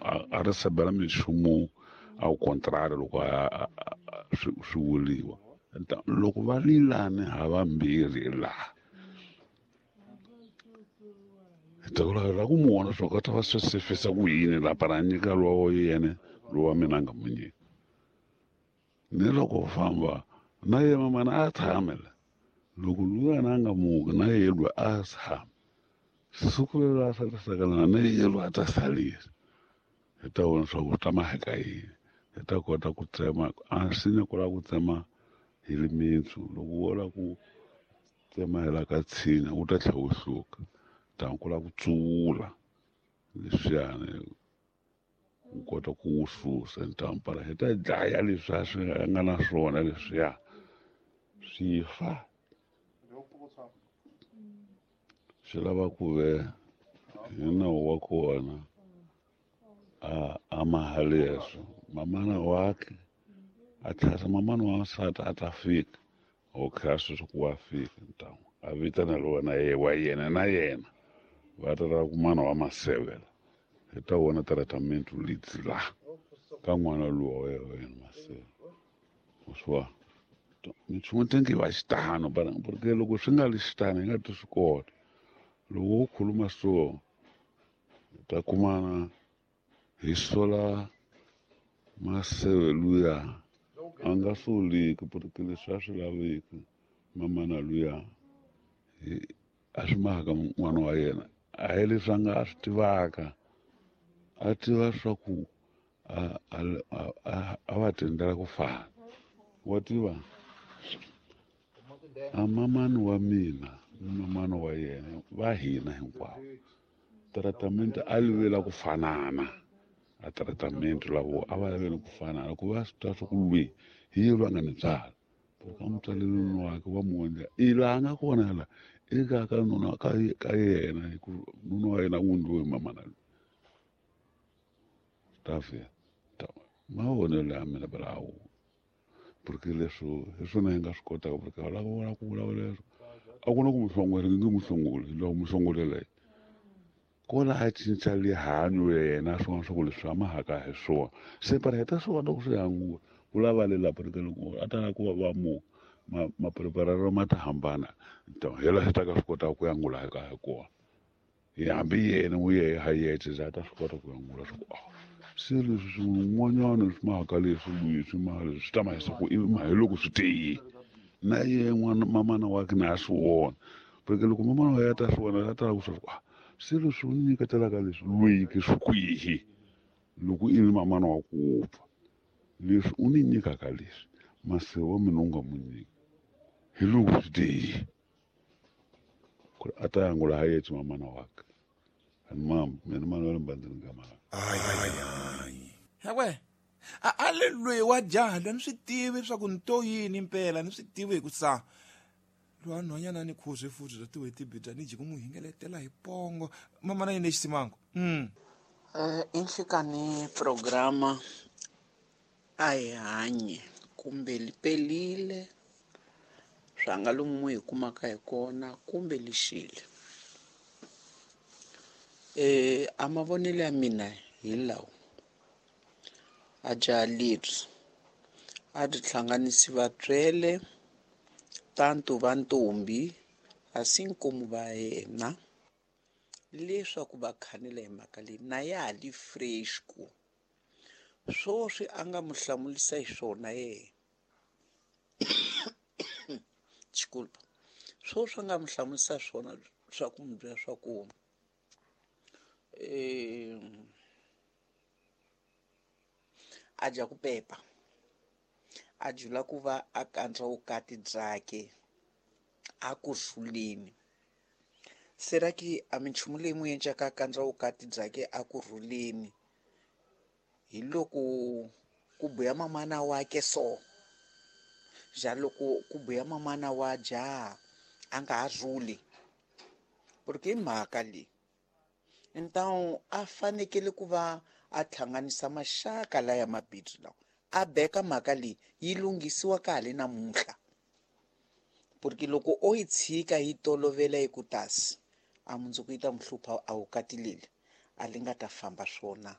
a ri sebela minchumu ao contrário loko swi vuriwa. Loko va lilane havambirhi laha hi ta la ku mu vona swa ku ta va swi sefisa ku yini la para nyika lowa yena lowa mina a nga mu nyika. Ni loko famba na ye mamana a tshame la loko luyana a nga muki na ye lwa a tshama siku lero a salisakana na ye lwa a ta salisa hi ta vona swa ku ta maheka yini hi ta kota ku tsema a nsinya ku lava ku tsema hi limintsu loko wo lava ku tsema hi la ka tshinya wu ta tlhela wu hluka tani ku lava ku tsuvula leswiyani u kota ku wu susa ntampara hi ta dlaya leswi a swi nga na swona leswiya swi fa swi lava ku ve hi nawu wa kona a maha leswo mamana wakhe a tlhasa mamana wa nsati a ta fika okay a sweswi ku wa fika ntamu a vitana lowa na ye wa yena na yena va ta lava ku mana wa masevela hi ta vona tratament litsi la ka n'wana luwa wa yena maseve swa minchumu tenge va xitano porque loko swi nga li xitano hi nga ti swi kota loko wo khuluma so ta kumana hi sola maseve luya a nga soliki porque leswi a swi laveki mamana luya a swi mahaka n'wana wa yena a hi leswi a nga a swi tivaka a tiva swa ku a va tendela ku fana wa tiva a mamani wa mina ni mamani wa yena va hina hinkwavo tratament a livela ku fanana a tratament lavo a va lavela ku fanana ku va swi twa swa ku lwi hi ye lwa nga ni byala porque a mutswalelweni wakhe wa mu endla i laha nga kona la eka ka nuna ka yena hi ku nuna wa yena wu ndliwe mamana loyi ta fika mavonelo ya mina balawo porque leswo hi swona hi nga swi kotaka porque va lava vona ku vulavula leswo a ku na ku muhlongole nge muhlongoli loko muhlongolela yi ko la a cinca lihanyo ya yena swin'wana swa ku leswi a mahaka hi swona se para hi ta swi vona ku swi hangula ku lava le la porque loko a ta lava ku va va mu mapreparelo ma ta hambana hi la swi ta ka swi kotaka ku yangula hi ka hi kona hi hambi yena n'wi yehe ha yexe a ta swi kota ku yangula swa ku se leswi swin'wanyana swi mahaka leswi leswi maha leswi swi ta mahisa ku ivi mahi loko swi tiyile na ye n'wana mamana wakhe na a swi vona porque loko mamana wa yena ta swi vona a ta lava ku swa ku se leswi u nyiketelaka leswi lwiki swi kwihi loko i ri mamana wa ku pfa leswi u ni nyikaka leswi mase wa mina u nga mu nyiki hi loko swi tiyile ku ri a ta yangula ha yexe mamana wakhe ani mama mina mana wa le mbandzeni ka mhaka hewe a le lweyi wa jaha loyi ni swi tivi leswaku ni to yini mpela ni swi tivi hi ku sa lowa nhwanyana ni khuzwe futhi bya tiwetibibya ni jiki n'wi hingeletela hi pongo mamana yini lexisimango I nhlikani programa a hi hanye kumbe li pelile swa nga lomu hi kumaka hi kona kumbe lixile. A mavonelo ya mina hi lawa a jaha leri a ri hlanganisi vatswele tantu va ntombi a si nkomu va yena leswaku va khanela hi mhaka leyi na ya ha li fresh ku swoswi a nga mu hlamulisa hi swona yena Desculpa. Swoswi a nga mu hlamulisa swona swa ku mu byela swa ku a dya ku pepa a jula ku va a kandzwa vukati byakhe a ku rhuleni sera ki a minchumu leyi n'wi endlaka a kandzwa vukati byakhe a ku rhuleni hi loko ku buya mamana wakhe so ja loko ku buya mamana wa jaha a nga ha rhuli porque i mhaka leyi então a fanekele ku va a hlanganisa maxaka laya mabindzu lawa a beka mhaka leyi yi lunghisiwa ka ha le namuntlha porque loko o yi tshika yi tolovela yi ku tasi a mundzuku yi ta mu hlupha a vukati leli a li nga ta famba swona.